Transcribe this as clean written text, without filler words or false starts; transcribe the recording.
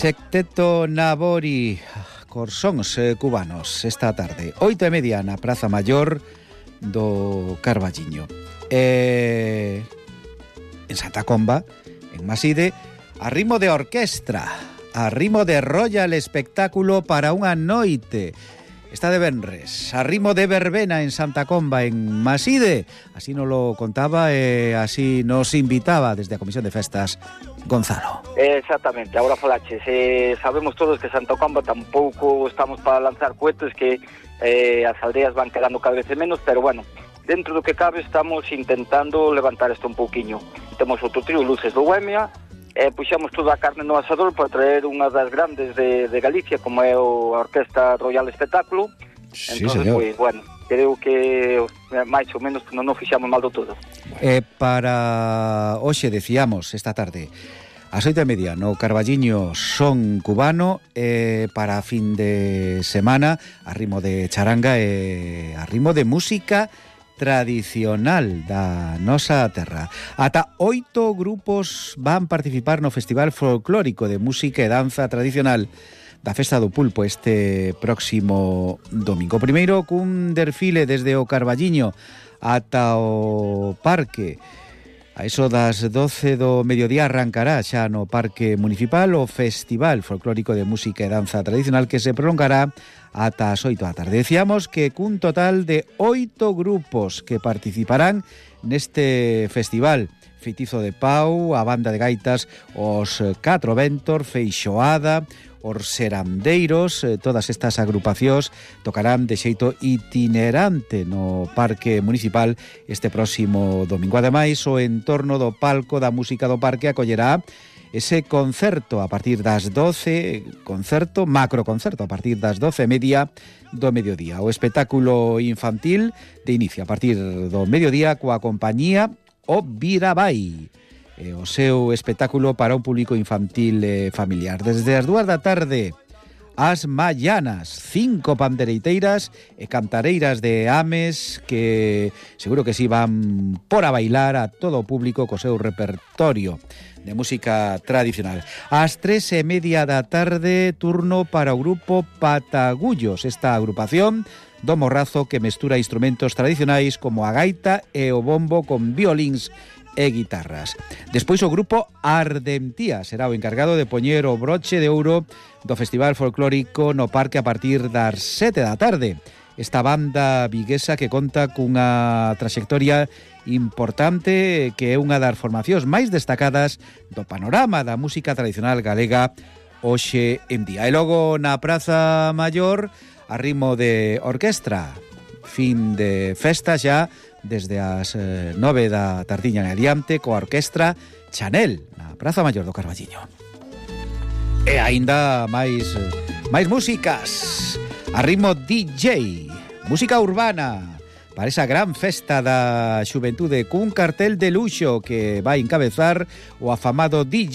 Secteto Nabori, corsóns cubanos esta tarde, 8:30 na Praza Maior do Carballiño. En Santa Comba, en Maside, a ritmo de orquestra, a ritmo de Royal Espectáculo para unha noite. Está de venres, a ritmo de verbena en Santa Comba, en Maside. Así nos lo contaba e así nos invitaba desde a Comisión de Festas Gonzalo. Exactamente, agora falaches. Sabemos todos que Santa Comba tampouco estamos para lanzar cohetes, que as aldeas van quedando cada vez menos, pero bueno, dentro do que cabe estamos intentando levantar isto un pouquiño. Temos outro trío, Luces do Bohemia, puxamos toda a carne no asador para traer unha das grandes de Galicia, como é a Orquesta Royal Espectáculo. Sí, entonces, señor. Pues, bueno, creo que máis ou menos non fixamos mal do todo. Para hoxe, decíamos, esta tarde, ás 8:30 no Carballiño son cubano, para fin de semana, a ritmo de charanga e a ritmo de música tradicional da nosa terra. Ata 8 grupos van participar no Festival Folclórico de Música e Danza Tradicional da Festa do Pulpo este próximo domingo. Primeiro, cun desfile desde o Carballiño ata o parque. A eso das 12 do mediodía arrancará xa no Parque Municipal o Festival Folclórico de Música e Danza Tradicional, que se prolongará ata as 8 da tarde. Decíamos que cun total de 8 grupos que participarán neste festival. Feitizo de Pau, a banda de gaitas, os Catro Ventos, Feixoada, os Serandeiros, todas estas agrupacións tocarán de xeito itinerante no Parque Municipal este próximo domingo. Ademais, o entorno do palco da música do parque acollerá ese concerto a partir das 12, macroconcerto a partir das 12:30 do mediodía. O espectáculo infantil de inicio a partir do mediodía coa compañía O Virabai, o seu espectáculo para un público infantil e familiar. Desde as 2 da tarde, as Mallanas, 5 pandereiteiras e cantareiras de Ames que seguro que si van por a bailar a todo o público co seu repertorio de música tradicional. Ás 3:30 da tarde, turno para o grupo Patagullos, esta agrupación do Morrazo que mestura instrumentos tradicionais como a gaita e o bombo con violíns e guitarras. Despois o grupo Ardentía será o encargado de poñer o broche de ouro do Festival Folclórico no parque a partir das 7 da tarde. Esta banda viguesa que conta cunha traxectoria importante, que é unha das formacións máis destacadas do panorama da música tradicional galega hoxe en día. E logo na Praza Maior, a ritmo de orquestra, fin de festa xa desde as 9 da tardiña en adiante coa orquestra Chanel na Praza Maior do Carballiño. E aínda máis músicas, a ritmo DJ, música urbana para esa gran festa da xuventude cun cartel de luxo que vai encabezar o afamado DJ